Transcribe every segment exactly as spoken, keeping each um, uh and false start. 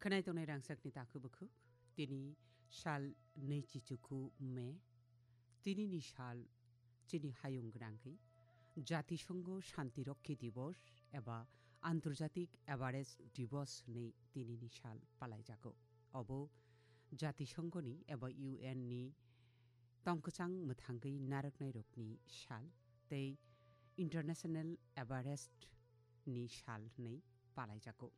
Khwnai tongnai rangchakni takhuk bukhuk, tini sal nui chichuku Me, tinini sal chini hayung gwnangwi Jatisongo Shanti Rokhi Divos eba Antarjatik Everest Divos hwnwi tinini sal palaijago. Obo Jatisongoni eba U N ni tongkwchang mwthangwi narwknairokni sal tei International Everest ni sal hwnwi palaijago.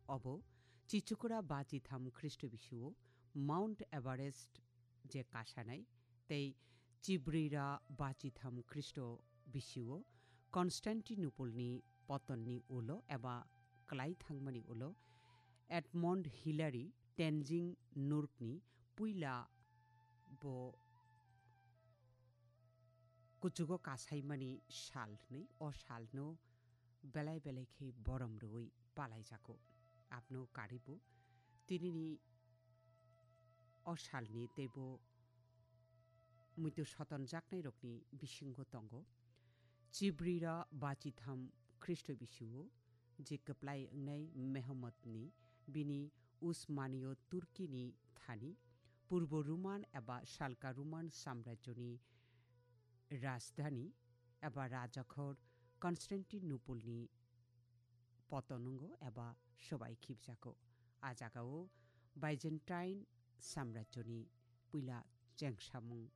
Obo chichukura bachitham Khristo bisio Mount Everest je kasanai tei chibrira bachitham Khristo bisio Constantinople ni potonni ulo eba klai thangmani ulo Edmund Hillary Tenzing Norgay ni puila bo kuchugo kasaimani sal hwnwi o salno belai belai khe borom rwui palaijago. Abno karibo tinini o salni teibo muitu sotonjaknairokni bisingo tongo. Chibrira bachitham Khristo bisio je kwplai wngnai Mehamotni bini Usmaniyo Turkini thani Purbo Roman eba Salka Roman samrajyoni rajdhani eba rajakhor Constantinople ni potonungo eba sobai khibjago. A jagao Byzantine samrajyoni puila chengsamung